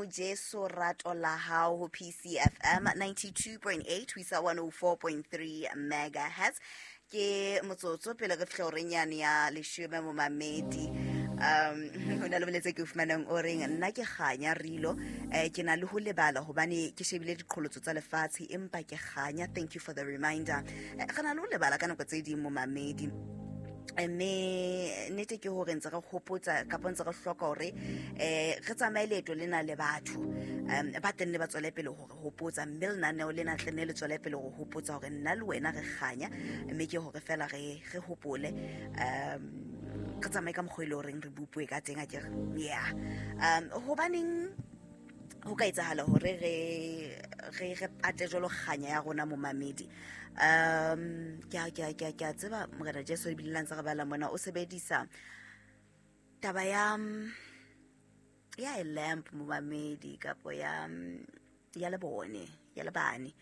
Modimo Jesu rato la hao ho PCFM 92.8 ho isa 104.3 megahertz. Ke motsotso pele re fihla horeng yane ya leshome, momamedi. Ho na le boletse ke o fumanang o reng nna ke kganya rilo, ke na le ho lebala hobane ke shebile diqholotso tsa lefatshe, empa ke kganya. Thank you for the reminder. Re na le ho lebala ka nako tse ding, momamedi, mme nnete ke hore ntse re hopotsa kapa ntse re hloka hore re tsamaye leeto lena le batho ba teng ne ba tswele pele hore hopotsa, mme lenaneo lena tle ne le tswele pele ho hopotsa hore nna le wena re kganya, mme ke hore fela re hopole, re tsamaye ka mokgwa e le horeng re bupuwe ka teng, akere? Yeah. Hobaneng ho ka etsahala hore re pate jwalo kganya ya rona, momamedi? Ke a tseba Morena Jesu ebile la ntse re bala mona o sebedisa taba ya a lamp, momamedi, kapo ya lebone, ya lebane,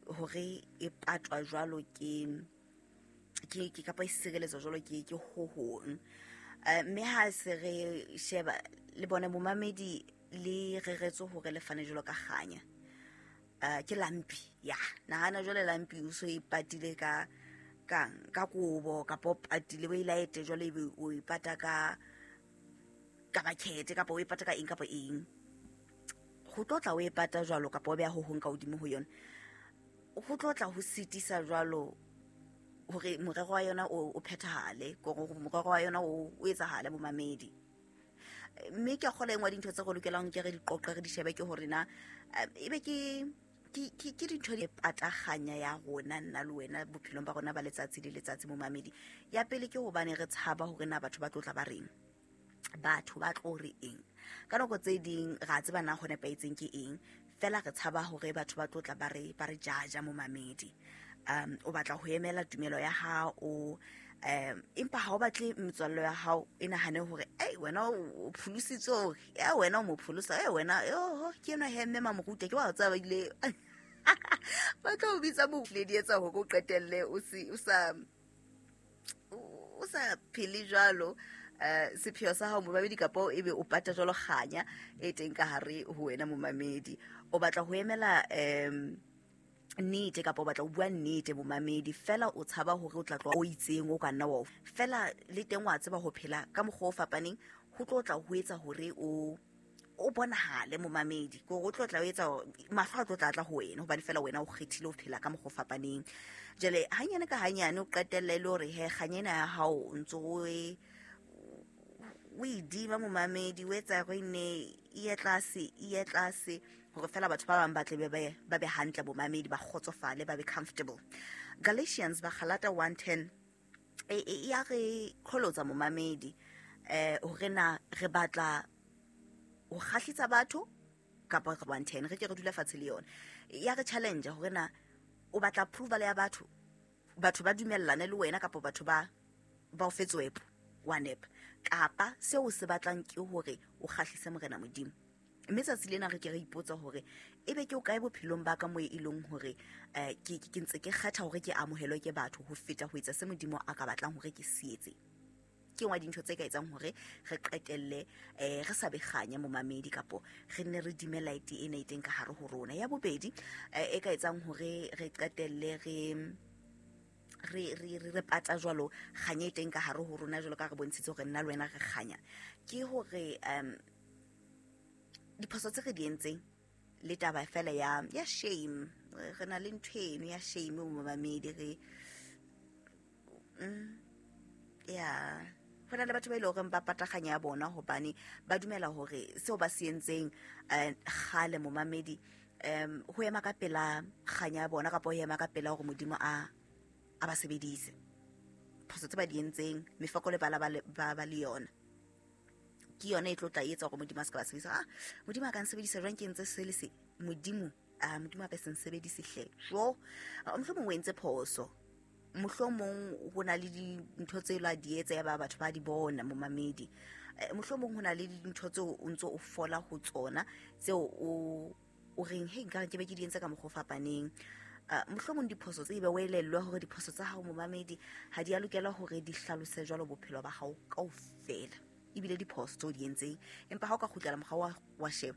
hore e patwa jwalo ke kapa e sireletswa jwalo ke ho hong. Mme ha se re sheba le bone, momamedi, le reretswe hore le fane jwalo ka kganya. Ke lampi ya nahana jwale lampi o so e patile ka kobo kapa o patile o e laete jwale, ebe o e pata ka bakete kapa o e pata ka eng kapa eng. Ho tlo tla o e pata jwalo kapa o beha ho hong ka hodimo ho yona, ho tlo tla ho sitisa jwalo hore morero wa yona o phethahale, kore morero wa yona o etsahale, bomamedi. Mme ke a kgola engwe ya dintho tse re lokelang ke re di qoqe, re di shebe, ke hore na ebe ke dintho di pataganya ya rona nna le wena bophelong ba rona ba letsatsi le letsatsi, momamedi. Ya pele ke hobane re tshaba hore na batho ba tlo tla ba reng, batho ba tlo re eng. Ka nako tse ding ra tseba na ho nepahetseng ke eng, fela re tshaba hore batho ba tlo tla ba re jaja, momamedi. O batla ho emela tumelo ya hao, empa ha o batle metswallo ya hao e nahane hore ei, wena o pholositswe, e wena o mo pholosa, e wena oho ke enwa he mme mamoruta ke wa tseba, ba ile ba tlo o bitsa mo di etsa hore o qetelle o sa phele jwalo sepheo sa hao, momamedi, kapa ebe o pata jwalo kganya e teng ka hare ho wena, momamedi. O batla ho emela nnete kapa o batla ho bua nnete, momamedi, fela o tshaba hore o tla tloha o itseng o ka nna wa fela le teng wa tseba ho phela ka mokgwa o fapaneng, ho tlo tla ho etsa hore o bonahale, momamedi, kore o tlo tla o etsa mahlo a tlo tla tla ho wena hobane fela wena o kgethile ho phela ka mokgwa o fapaneng. Jwale hanyane ka hanyane o qetelle e le hore he kganya ena ya hao o ntso o e dima, momamedi, o etsa gore ne e ye tlase, e ye tlase, hore fela batho ba bang ba tle ba be hantle, bomamedi, ba kgotsofale, ba be comfortable. Galatians, Bagalata 1:10 e ya re qholotsa, momamedi, hore na re batla ho kgahlisa batho kapa re 1:10 re ke re dula fatshe le yona ya re challenge hore na o batla approval ya batho, batho ba dumellane le wena, kapa batho ba o fe tswepo wa nepa, kapa seo o se batlang ke hore o kgahlise Morena Modimo. Mme tsatsi lena re ke re ipotsa hore ebe ke o kae bophelong ba ka mo e leng hore ke ntse ke kgetha hore ke amohelwe ke batho ho feta ho etsa se Modimo a ka batlang hore ke se etse. Ke ngwa dintho tse ka etsang hore re qetelle re sa be kganya, momamedi, kapo re nne re dime light ena e teng ka hare ho rona. Ya bobedi e ka etsang hore re qetelle re pata jwalo kganya e teng ka hare ho rona, jwalo ka re bontshitse hore nna le wena re kganya, ke hore diphoso tse re di entseng le taba fela ya shame. Re na le ntho eno ya shame, momamedi. Re ya ho na le batho ba ile horeng ba pataganya ya bona hobane ba dumela hore seo ba se entseng kgale, momamedi, ho ema ka pela kganya ya bona kapa ho ema ka pela hore Modimo a ba sebedise. Phoso tse ba di entseng, mefokolo ba la ba le yona, ke yona e tlo tla etsa hore Modimo a se ka ba sebedisa. Ah, Modimo a ka nsebedisa jwang ke entse se le se? Modimo, ah, Modimo a ka se nsebedise hle. Jo, mohlomong o entse phoso, mohlomong ho na le dintho tse la di etsa ya ba batho ba di bona, momamedi. Mohlomong ho na le dintho tseo o ntso o fola ho tsona tseo o reng he nkare ke be ke di entse ka mokgwa o fapaneng. Mohlomong diphoso tse ebe o elellwe hore diphoso tsa hao, momamedi, ha di a lokela hore di hlalose jwalo bophelo ba hao kaofela, ebile diphoso tseo di entseng, empa ha o ka kgutlela morao wa sheba.